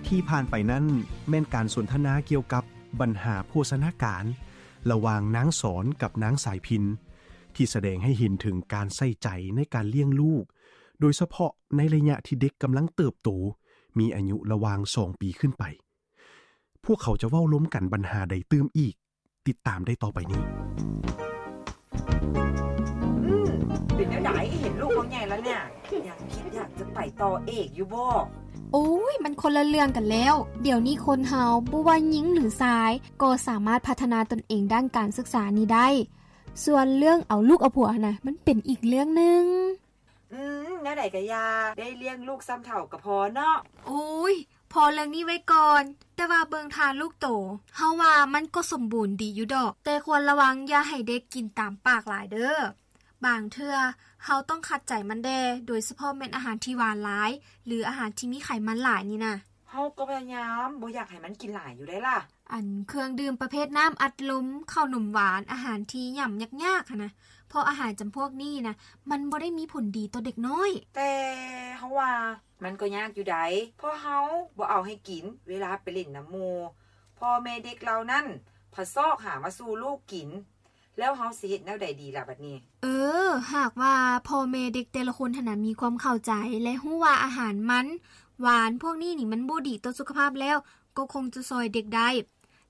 ທີ່ຜ່ານໄປນັ້ນແມ່ນການສົນທະນາກ່ຽວກັບບັນຫາໂພຊະນາການລະຫວ່າງນາງສອນກັບນາງສາຍພິນ ທີ່ສະແດງໃຫ້ເຫັນເຖິງການໃສ່ໃຈໃນການລ້ຽງລູກ, ໂດຍສະເພາະໃນໄລຍະທີ່ເດັກກຳລັງເຕີບໂຕ, ມີອາຍຸລະຫວ່າງສອງປີຂຶ້ນໄປ. ພວກເຂົາຈະເວົ້າລົມກັນບັນຫາໃດຕື່ມອີກ? ຕິດຕາມໄດ້ຕໍ່ໄປນີ້. ອືມ ເປັນແນວໃດ? ເຫັນລູກເຮົາໃຫຍ່ແລ້ວເນຍ ຍັງຄິດຢາກຈະໄປຕໍ່ເອກຢູ່ບໍ່? ໂອ້ຍ ມັນຄົນລະເລື່ອງກັນແລ້ວ. ດຽວນີ້ຄົນເຮົາ ບໍ່ວ່າຍິງຫຼືຊາຍ ກໍສາມາດພັດທະນາຕົນເອງດ້ານການສຶກສານີ້ໄດ້. ສ່ວນເລື່ອງເອົາລູກເອົາຜົວຫັ້ນນະ ມັນເປັນອີກເລື່ອງໜຶ່ງ. ອືມ ແນວໃດກະຢ່າ ໄດ້ລ້ຽງລູກຊ່ຳເຖົ້າກະພໍເນາະ. ໂອ້ຍ ພໍເລື່ອງນີ້ໄວ້ກ່ອນ, ແຕ່ວ່າເບິ່ງທ່າລູກໂຕ ເຮົາວ່າມັນກໍສົມບູນດີຢູ່ດອກ, ແຕ່ຄວນລະວັງຢ່າໃຫ້ເດັກກິນຕາມປາກຫຼາຍເດີ້. ບາງເທື່ອເຮົາຕ້ອງຂັດໃຈມັນແດ່, ໂດຍສະເພາະແມ່ນອາຫານທີ່ຫວານຫຼາຍ ຫຼື ອາຫານທີ່ມີໄຂມັນຫຼາຍນີ້ນະ. ເຮົາກໍພະຍາຍາມບໍ່ຢາກໃຫ້ມັນກິນຫຼາຍຢູ່ໃດ໋ລະ. ອັນເຄື່ອງດື່ມປະເພດນ້ຳອັດລົມ, ເຂົ້າໜົມຫວານ, ອາຫານທີ່ຫຍ້ຳຍາກໆຫັ້ນນະ, ເພາະອາຫານຈຳພວກນີ້ນະ ມັນບໍ່ໄດ້ມີຜົນດີຕໍ່ເດັກນ້ອຍ. ແຕ່ເຮົາວ່າມັນກໍຍາກຢູ່ໃດ໋, ເພາະເຮົາບໍ່ເອົາໃຫ້ກິນເວລາໄປຫຼິ້ນນຳໝູ່, ພໍ່ແມ່ເດັກເຫຼົ່ານັ້ນພັດຊອກຫາມາສູ່ລູກກິນ. ແລ້ວເຮົາຊິເຮັດແນວໃດດີລະບັດນີ້? ເອີ ຫາກວ່າພໍ່ແມ່ເດັກແຕ່ລະຄົນຫັ້ນນະ ມີຄວາມເຂົ້າໃຈ ແລະ ຮູ້ວ່າອາຫານມັນຫວານພວກນີ້ນີ້ ມັນບໍ່ດີຕໍ່ສຸຂະພາບແລ້ວ ກໍຄົງຈະຊ່ອຍເດັກໄດ້.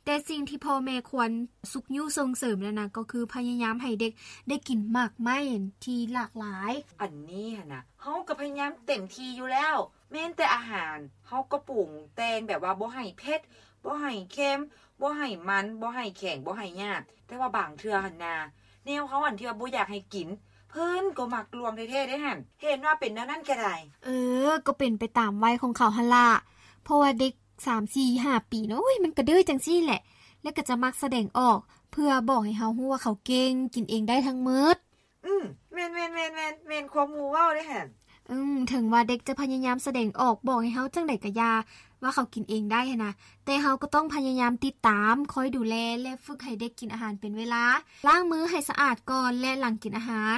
ແຕ່ສິ່ງທີ່ພໍ່ແມ່ຄວນຊຸກຍູ້ສົ່ງເສີມນັ້ນນະ ກໍຄືພະຍາຍາມໃຫ້ເດັກໄດ້ກິນໝາກໄມ້ທີ່ຫຼາກຫຼາຍ. ອັນນີ້ຫັ້ນນະ ເຮົາກໍພະຍາຍາມເຕັມທີ່ຢູ່ແລ້ວ. ແມ່ນແຕ່ອາຫານ ເຮົາກໍປຸງແຕ່ງແບບວ່າບໍ່ໃຫ້ເຜັດ, ບໍ່ໃຫ້ເຄັມ, ບໍ່ໃຫ້ມັນ, ບໍ່ໃຫ້ແຂງ, ບໍ່ໃຫ້ຫຍາບ. ແຕ່ວ່າບາງເທື່ອຫັ້ນນາ ແນວເຮົາອັນທີ່ວ່າບໍ່ຢາກໃຫ້ກິນ ເພິ່ນກໍມັກລວງແທ້ໆເດ້ຫັ້ນ. ເຫັນວ່າເປັນແນວນັ້ນກະໄດ້. ເອີ ກໍເປັນໄປຕາມໄວຂອງເຂົາຫັ້ນລະ, ເພາະວ່າເດັກສາມ ສີ່ ຫ້າປີນະ ໂອ້ຍ ມັນກະດື້ຈັ່ງຊີ້ແຫຼະ, ແລ້ວກະຈະມັກສະແດງອອກ ເພື່ອບອກໃຫ້ເຮົາຮູ້ວ່າເຂົາເກັ່ງ, ກິນເອງໄດ້ທັງໝົດ. ອືມ ແມ່ນໆໆໆ ແມ່ນຄວາມໝູ່ເວົ້າເດ້ຫັ້ນ. ອືມ ເຖິງວ່າເດັກຈະພະຍາຍາມສະແດງອອກ ບອກໃຫ້ເຮົາຈັ່ງໃດກະຢ່າ ວ່າເຂົາກິນເອງໄດ້ຫັ້ນນະ, ແຕ່ເຮົາກໍຕ້ອງພະຍາຍາມຕິດຕາມ, ຄອຍດູແລ ແລະ ຝຶກໃຫ້ເດັກກິນອາຫານເປັນເວລາ, ລ້າງມືໃຫ້ສະອາດກ່ອນ ແລະ ຫຼັງກິນອາຫານ,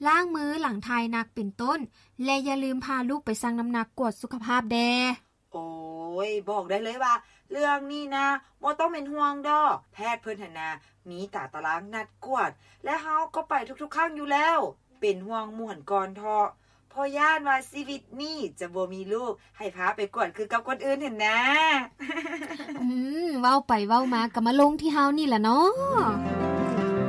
ລ້າງມືຫຼັງຖ່າຍໜັກເປັນຕົ້ນ ແລະ ຢ່າລືມພາລູກໄປຊັ່ງນ້ຳໜັກກວດສຸຂະພາບແດ່. ໂອ້ຍ ບອກໄດ້ເລີຍວ່າເລື່ອງນີ້ນະ ບໍ່ຕ້ອງເປັນຫ່ວງດອກ, ແພດເພິ່ນຫັ້ນນະ ມີຕາຕະລາງນັດກວດ ແລະ ເຮົາກໍໄປທຸກໆຄັ້ງຢູ່ແລ້ວ. ເປັນຫ່ວງໝູ່ຫັ້ນກ່ອນເທາະ, ເພາະຢ້ານວ່າຊີວິດນີ້ຈະບໍ່ມີລູກໃຫ້ພາໄປກວດຄືກັບຄົນອື່ນຫັ້ນນາ. ອືມ ເວົ້າໄປເວົ້າມາກໍມາລົງທີ່ເຮົານີ້ລະເນາະ.